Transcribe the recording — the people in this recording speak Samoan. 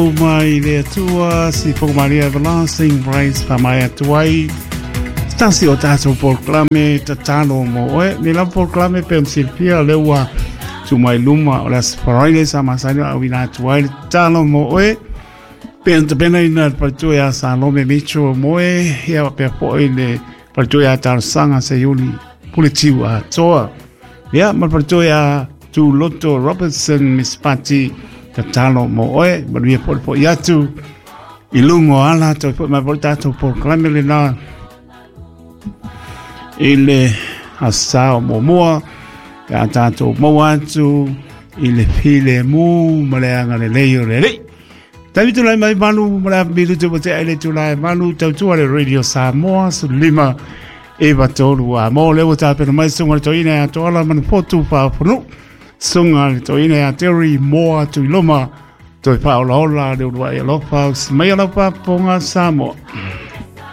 Mai le Atua si Maria Everlasting Praise pa mai atu ai tasi o tātou polokalame tatalo mo oe. Ni lau polokalame pe on silfia le ua tu mai luma o le Aso Faraile sa masani o auina atu ai le tatalo mo oe. Pe on tapena ina le paletua ia Salome Mitchell mo oe, ia pea po i le paletua ia Talosaga Seiuli Puletiu Atoa. Ia, ma le paletua ia Tuloto Robertson Miss Pati tatalo mo oe, manuia po le po i atu i luga o ala toe foi mai foi tatou polokalame lena i le asa o muamua pe a tatou maua atu i le filemu ma le agalelei o le Alii. Taimi tulai mai malu ma le milu te te ai le tulai malu tautua le Radio Samoa 15 e tolu a mo le ua tapena mai sunga le toina ia toala manu potu whaafunu sunga le toina ia Terry Moa Tuiloma toi whaolaola le urua i alofa mai alofa ponga Samoa.